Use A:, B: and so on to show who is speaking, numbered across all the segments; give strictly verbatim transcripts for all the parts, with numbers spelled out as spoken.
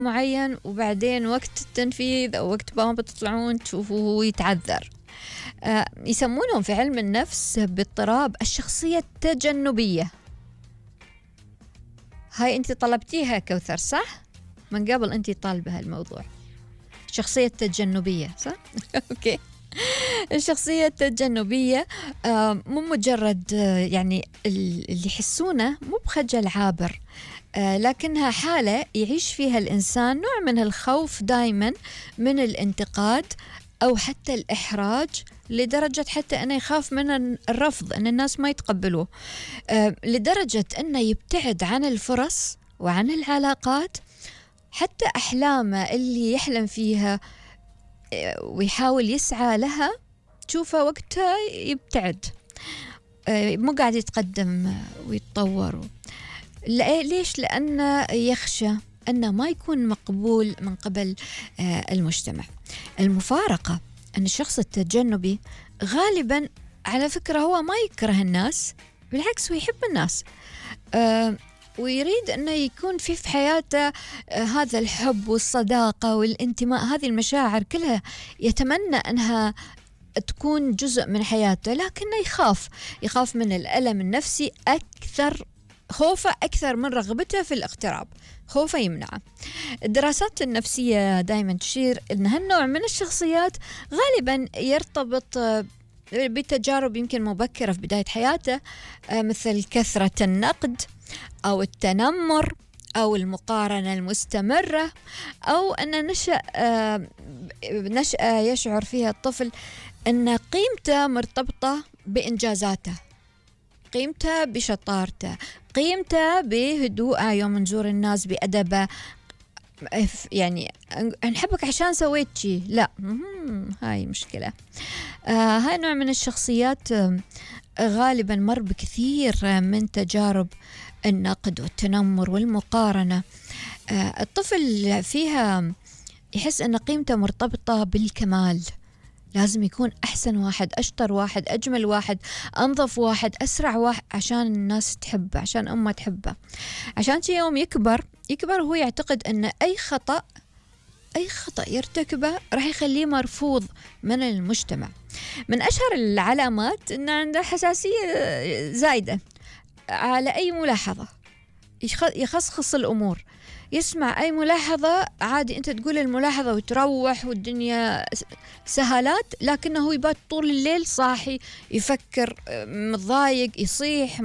A: معين وبعدين وقت التنفيذ أو وقت ما بتطلعون تشوفوه يتعذر. آه يسمونهم في علم النفس باضطراب الشخصية التجنبية. هاي أنت طلبتيها كوثر صح؟ من قبل أنت طالبة هالموضوع الشخصية التجنبية صح؟ أوكي. الشخصية التجنبية آه مو مجرد آه يعني اللي يحسونه مو بخجل عابر، آه لكنها حالة يعيش فيها الإنسان نوع من الخوف دايما من الانتقاد أو حتى الإحراج، لدرجة حتى أنه يخاف من الرفض، أن الناس ما يتقبلوه، آه لدرجة أنه يبتعد عن الفرص وعن العلاقات، حتى أحلامه اللي يحلم فيها ويحاول يسعى لها تشوفه وقتها يبتعد، مو قاعد يتقدم ويتطور. ليش؟ لأنه يخشى أنه ما يكون مقبول من قبل المجتمع. المفارقة أن الشخص التجنبي غالبا على فكرة هو ما يكره الناس، بالعكس هو يحب الناس، ويريد أنه يكون في في حياته هذا الحب والصداقة والانتماء، هذه المشاعر كلها يتمنى أنها تكون جزء من حياته، لكنه يخاف يخاف من الألم النفسي أكثر، خوفه أكثر من رغبته في الاقتراب، خوفه يمنعه. الدراسات النفسية دائما تشير أن هالنوع من الشخصيات غالبا يرتبط بتجارب يمكن مبكرة في بداية حياته، مثل كثرة النقد أو التنمر أو المقارنة المستمرة، أو أن نشأ نشأة يشعر فيها الطفل أن قيمته مرتبطة بإنجازاته، قيمته بشطارته، قيمته بهدوءه يوم نزور الناس بأدبه، يعني نحبك عشان سويت شي، لا هاي مشكلة. آه هاي نوع من الشخصيات آه غالبا مر بكثير من تجارب النقد والتنمر والمقارنة. آه الطفل فيها يحس أن قيمته مرتبطة بالكمال، لازم يكون أحسن واحد، أشطر واحد، أجمل واحد، أنظف واحد، أسرع واحد، عشان الناس تحبه، عشان أمه تحبه. عشان شي يوم يكبر يكبر هو يعتقد أن أي خطأ أي خطأ يرتكبه راح يخليه مرفوض من المجتمع. من أشهر العلامات أن عنده حساسية زايدة على أي ملاحظة، يخصخص الأمور، يسمع أي ملاحظة عادي أنت تقول الملاحظة وتروح والدنيا سهالات، لكنه يبات طول الليل صاحي يفكر، متضايق، يصيح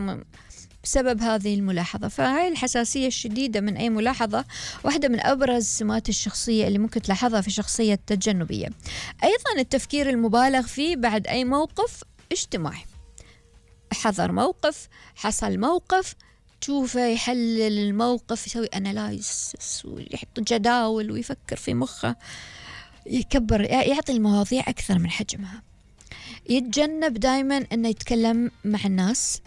A: بسبب هذه الملاحظة. فهاي الحساسية الشديدة من أي ملاحظة واحدة من أبرز سمات الشخصية اللي ممكن تلاحظها في الشخصية التجنبية. أيضا التفكير المبالغ فيه بعد أي موقف اجتماعي، حضر موقف، حصل موقف، تشوفه يحلل الموقف، يسوي أنالايز ويحط جداول ويفكر في مخه، يكبر، يعطي المواضيع أكثر من حجمها. يتجنب دايما أنه يتكلم مع الناس.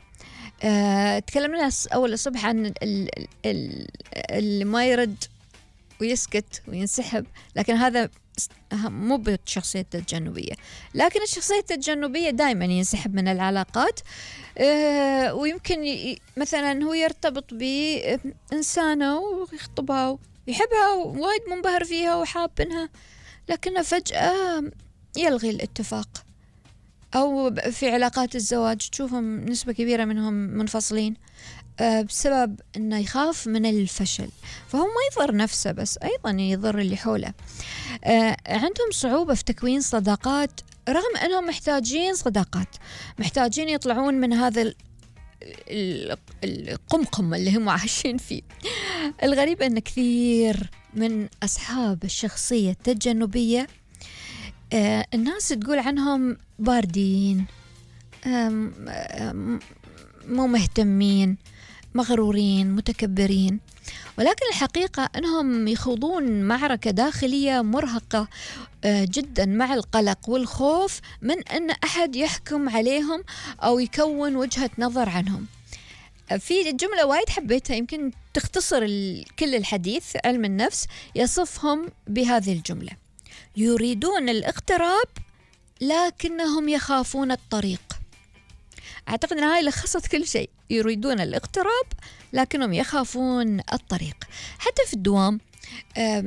A: أه تكلمنا أول الصبح عن اللي ما يرد ويسكت وينسحب، لكن هذا مو بالشخصية التجنبية. لكن الشخصية التجنبية دائما ينسحب من العلاقات، أه ويمكن مثلا هو يرتبط بإنسانة ويخطبها ويحبها وايد منبهر فيها وحابنها، لكنه فجأة يلغي الاتفاق. أو في علاقات الزواج تشوفهم نسبة كبيرة منهم منفصلين أه بسبب أنه يخاف من الفشل، فهو ما يضر نفسه بس أيضا يضر اللي حوله. أه عندهم صعوبة في تكوين صداقات رغم أنهم محتاجين صداقات، محتاجين يطلعون من هذا القمقم اللي هم عايشين فيه. الغريب أن كثير من أصحاب الشخصية التجنبية آه الناس تقول عنهم باردين، مو مهتمين، مغرورين، متكبرين، ولكن الحقيقة أنهم يخوضون معركة داخلية مرهقة آه جدا مع القلق والخوف من أن أحد يحكم عليهم أو يكون وجهة نظر عنهم. في جملة وايد حبيتها يمكن تختصر كل الحديث، علم النفس يصفهم بهذه الجملة: يريدون الاقتراب لكنهم يخافون الطريق. أعتقد أن هاي لخصت كل شيء، يريدون الاقتراب لكنهم يخافون الطريق. حتى في الدوام آم،